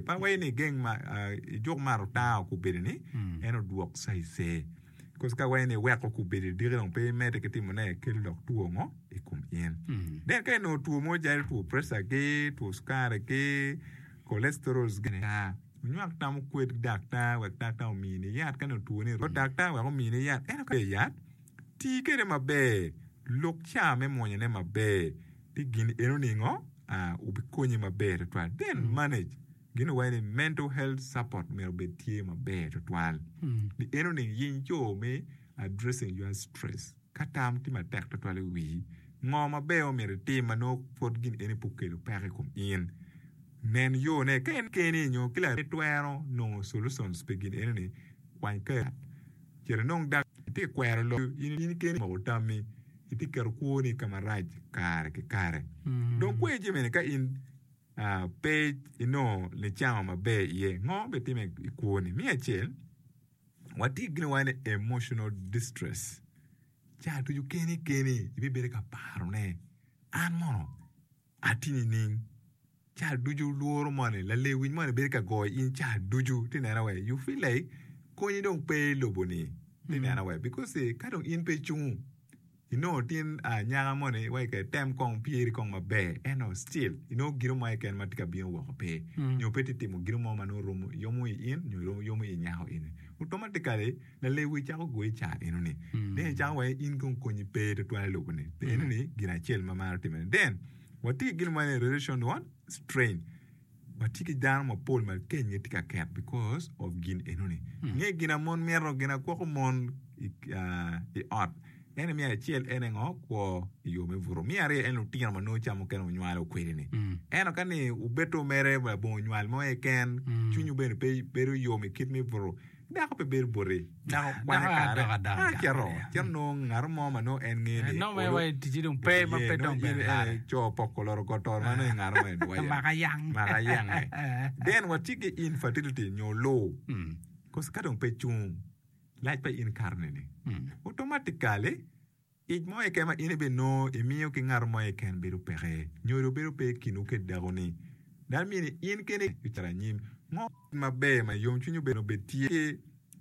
Pe awaco ni igeng ma, ijuk mato tango kubedi ni en odwok caize. Cause ka iwaco ni iweko kubedi diki dong pe imedde ki timone kelo dok two ngo i kom in. Then ka inongo two mo calo two pressure ki, two cukari ki, cholesterols gi, wunywak tam wukwed ki daktar wek daktar omini yat ka nongo twoni romo daktar wek omini yat ento ka yat tii kwede maber luk ca me mwonyone maber ci gin eno ningo obikonyi maber tutwal then manage gin owaco ni mental health support myero obed tye maber tutwal ni eno ni yiny co me addressing your stress ka tam tye matek tutwal i wii ngo maber ma myero itim ma nongo pwod gin eni pe okelo peko i kom in nen yo ne ka in keni nyo ki laremi twero nongo solutions pi gin eno ni kwany kare cit inong dak itye ka kwero lok in keni moko tammi itye ka keto kwoni ka marac kare ki kare dong kwer jami-ni ka in pe inongo nicango maber iye ngo bitime i kwoni? Me acel, watye ki gin ma waco ni emotional distress ca ducu keni keni ibibedo ka parone an mono atye nining? Ca ducu lworo moni lalewic moni bedo ka goyo in ca ducu ti neno wai you feel like konyi dong pe i lobo ni ti neno wai because ka dong in pe icungo inongo tin anyaka moni wai kede tem kong pyeri kong maber ento still inongo gino mo keken ma tye ka bino woko pe nyo pe tye timo gino mo ma nongo romo yomo i in nyo yomo i nyako eni automatically lalewic cako goyi ca enoni then icako wai in kong konyi pe tutwal i lobo ni enoni gin acel ma maro timone then Watye ki gin mo ni relation what? Strain. Watye ki dano mapol ma kenygi tye ka ket because of gin enoni. Nge gin a mon mito, gin a gwoko mon i, uh, i ot. Ene me acel ene ngo? Kwo i yo me buto. Me aryo en lutino ma nongo ca mukene wunywalo kwede ni. Ento ka ni wubeto mere labongo nywal mo keken, cwinywu bene pe bedo yom i kit me buto. Dako pe bedo boti. Dako kwanyo kare. A cito. Cito nongo ngat mo ma nongo en ngeyo ni Nongo mere wa i ticci dong pe ma pe dong bene lare. Co poko loro got to ma nongo i ngat mo en dwaye. Maka yang. Maka yange. Then watye ki infertility nyo loo. Cause ka dong pe cung, lac pa in kato nini? Automatically Ic mo keken ma in ibinongo imiyo ki ngat mo keken bedo peke, nyodo bedo pe i kinwu ki dakoni. Dano myero ni in keni icit anyim. Ngo maber ma yomcwiny obed tye ki?